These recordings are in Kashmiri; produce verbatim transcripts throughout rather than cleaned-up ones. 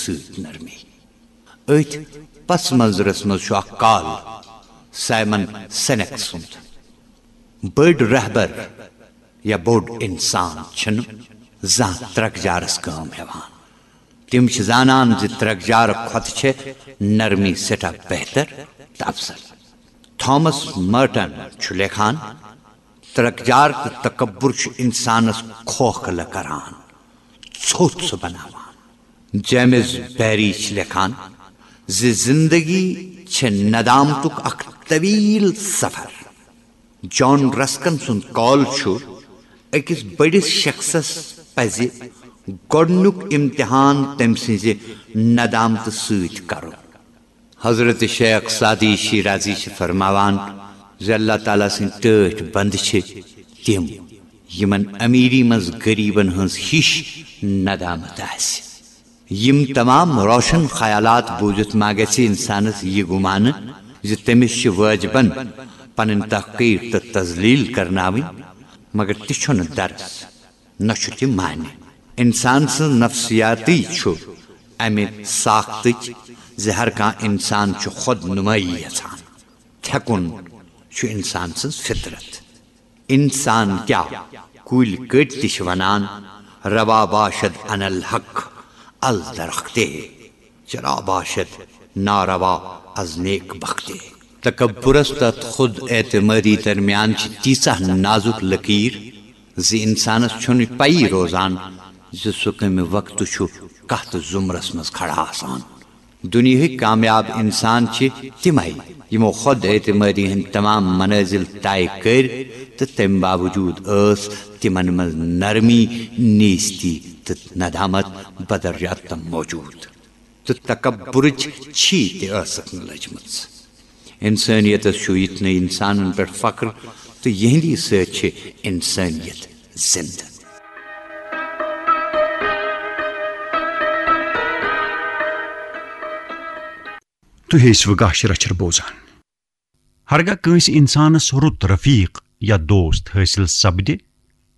سۭتۍ نرمی۔ أتھۍ پس منظرس منٛز چھُ اکھ کال سایمن سینک سُنٛد۔ بٔڑۍ رہبر یا بوٚڑ انسان چھِنہٕ زانٛہہ ترکجارس کٲم ہٮ۪وان۔ تِم چھِ زانان زِ ترکجارٕ کھۄتہٕ چھےٚ نرمی سٮ۪ٹھاہ بہتر تہٕ افضل۔ تھامس مرٹن چھُ لیکھان، ترکجار تہٕ تکبر چھُ انسانس کھوکھلہٕ کران، ژھوٚٹ سُہ بناوان۔ جیمز بیری چھِ لیکھان زِ زندگی چھےٚ ندامتُک اکھ طویل سفر۔ جان رسکن سُنٛد قول چھُ، أکِس بٔڑِس شخصس پزِ گۄڈٕنیُک امتحان تٔمۍ سٕنٛزِ ندامتہٕ سۭتۍ کرُن۔ حضرت شیخ سعدی شیرازی چھِ فرماوان زِ اللہ تعالیٰ سٕنٛدۍ ٹٲٹھۍ بندٕ چھِ تِم، یِمن امیری منٛز غریبن ہٕنٛز ہِش ندامت آسہِ۔ یِم تمام روشن خیالات بوٗزِتھ ما گژھِ انسانس یہِ گُمانہٕ زِ تٔمِس چھِ وٲجبن پنٕنۍ تحقیر تہٕ تذلیل کرناوٕنۍ، مگر تہِ چھُنہٕ درس، نہ چھُ تہِ معنی۔ انسان سٕنٛز نفسیاتی چھُ امہِ ساختٕچ زِ ہر کانٛہہ انسان چھُ خود نمٲیی یژھان۔ تھٮ۪کُن چھُ انسان سٕنٛز فطرت۔ انسان کیا، کُلۍ کٔٹۍ تہِ چھِ ونان، روا باشد ان الحق الدرختے، چرا باشد ناروا از نیک بختے۔ تکبرس تہٕ خود اعتمادی درمیان چھِ تیٖژاہ نازُک لکیر زِ انسانس چھُنہٕ پیی روزان زِ سُہ کمہِ وقتہٕ چھُ کتھ زمرس منٛز کھڑا آسان۔ دُنیاہٕکۍ کامیاب انسان چھِ تِمے، یِمو خود اعتمٲدی ہٕنٛدۍ تمام منٲزِل طے کٔرۍ، تہٕ تَمہِ باوجوٗد ٲس تِمن منٛز نرمی، نیستی تہٕ ندامت بدر رتم موجود۔ تہٕ تکبرٕچ چھی تہِ ٲسٕکھ نہٕ لٔجمٕژ۔ انسٲنیتس چھُ یِتھنٕے انسانن پٮ۪ٹھ فخر، تہٕ یِہنٛدی سۭتۍ چھِ انسٲنیت زندٕ۔ تُہۍ ٲسِو گاشہِ رچھر بوزان۔ ہرگاہ کٲنٛسہِ انسانس رُت رفیق یا دوست حٲصِل سپدِ،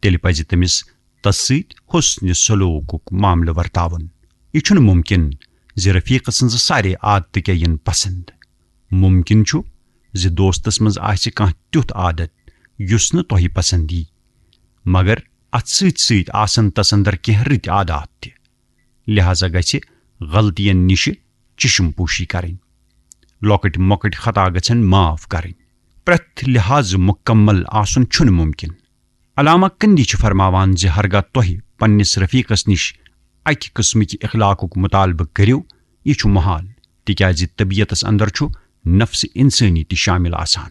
تیٚلہِ پزِ تٔمِس تس سۭتۍ حسنِ سلوکُک معاملہٕ ورتاوُن۔ یہِ چھُنہٕ مُمکِن زِ رفیقہٕ سٕنٛزٕ سارے عادتہٕ کیٛاہ یِن پسند۔ مُمکِن چھُ زِ دوستس منٛز آسہِ کانٛہہ تیُتھ عادت یُس نہٕ تۄہہِ پسند یی، مگر اتھ سۭتۍ سۭتۍ آسن تس اندر کینٛہہ رٕتۍ عادات تہِ۔ لہذا گژھِ غلطین نِشہِ چشم پوشی کرٕنۍ۔ لۄکٕٹۍ مۄکٕٹۍ خطا گژھن معاف کرٕنۍ۔ پرٛٮ۪تھ لحاظ مکمل آسُن چھُنہٕ ممکن۔ علامہ کندی چھِ فرماوان زِ ہرگاہ تۄہہِ پننِس رفیقس نِش اکہِ قٕسمٕکہِ اخلاقُک مطالبہٕ کٔرِو، یہِ چھُ محال، تِکیازِ طبیعتس اندر چھُ نفس انسٲنی تہِ شامل آسان۔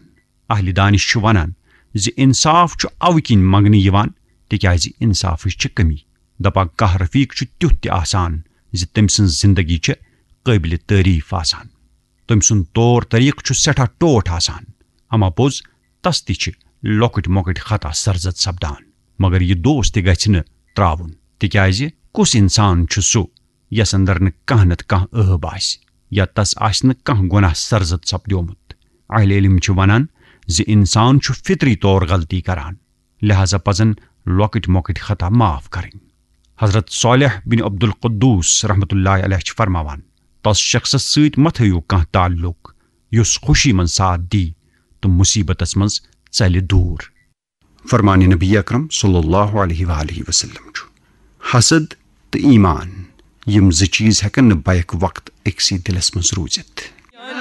اہلِ دانش چھِ ونان زِ انصاف چھُ اوٕ کِنۍ منگنہٕ یِوان تِکیازِ انصافٕچ چھِ کمی۔ دپان کانٛہہ رفیق چھُ تیُتھ تہِ آسان زِ تٔمۍ سٕنٛز زندگی چھِ قٲبلِ تعریف آسان۔ تٔمۍ سُنٛد طور طریقہٕ چھُ سٮ۪ٹھاہ ٹوٹھ آسان، اما پوٚز تس تہِ چھِ لۄکٕٹۍ مۄکٕٹۍ خطا سرزد سپدان، مگر یہِ دوست تہِ گژھِ نہٕ تراوُن، تِکیازِ کُس انسان چھُ سُہ یس اندر نہٕ کانٛہہ نتہٕ کانٛہہ عٲب آسہِ یا تس آسہِ نہٕ کانٛہہ گۄناہ سرزد سپدیومُت؟ اہل علم چھِ ونان زِ انسان چھُ فطری طور غلطی کران، لہذا پزن لۄکٕٹۍ مۄکٕٹۍ خطا معاف کرٕنۍ۔ حضرت صالح بن عبد القدوس رحمتہ اللہ علیہ چھِ فرماوان، تس شخصس سۭتۍ مہ تھٲیِو کانٛہہ تعلق یُس خوشی منٛز ساتھ دی تہٕ مصیبتس منٛز ژلہِ دوٗر۔ فرمان نبی اکرم صلی اللہ علیہ وآلہ وسلم چھُ، حسد تہٕ ایمان، یِم زٕ چیز ہیکن نہٕ بیک وقت أکسٕے دلس منٛز روٗزِتھ۔